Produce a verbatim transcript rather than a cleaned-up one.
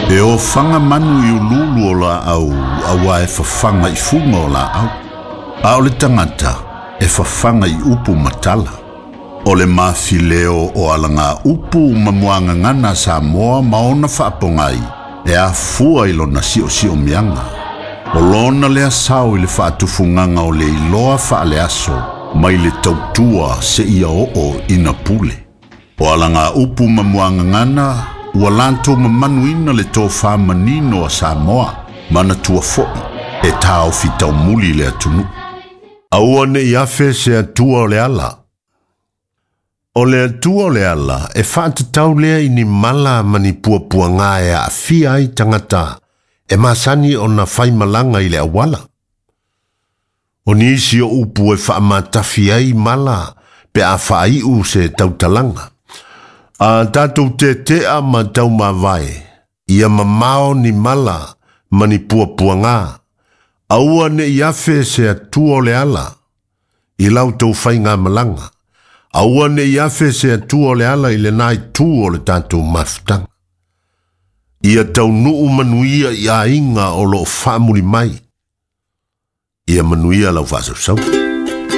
E ofaga manu i ululu o laau auā e fafaga i fuga o laau. A o le tagata e fafaga i upu ma tala. O le mafileo o alaga upu ma muagagana a Samoa ma ona faapogai e afua i lona siosiomiaga. O lona lea sao i le faatufugaga o le iloa faaleaso mai le tautua seia oo ina pule. O alaga upu ma muagagana ua latou mamanuina le tofā manino a Samoa manatua foʻi e taofi taumuli le atunuu. Aua ne i afe se atua o le ala. O le atua o le ala e faatatau lea i ni mala ma ni puapuaga e aafia ai tagata e masani ona faimalaga i le auala. O nisi o upu e faamatafi ai mala pe a faaiu se tautalaga. A tatou tetea ma taumavae, ia mamao ni mala ma ni puapuaga. Aua ne i afe se atua o le ala i lau tou faigamalaga. Aua ne i afe se atua o le ala i lena itu o le tatou mafutaga. Ia taunuu manuia i aiga o loo faamuli mai. Ia manuia lau faasausau.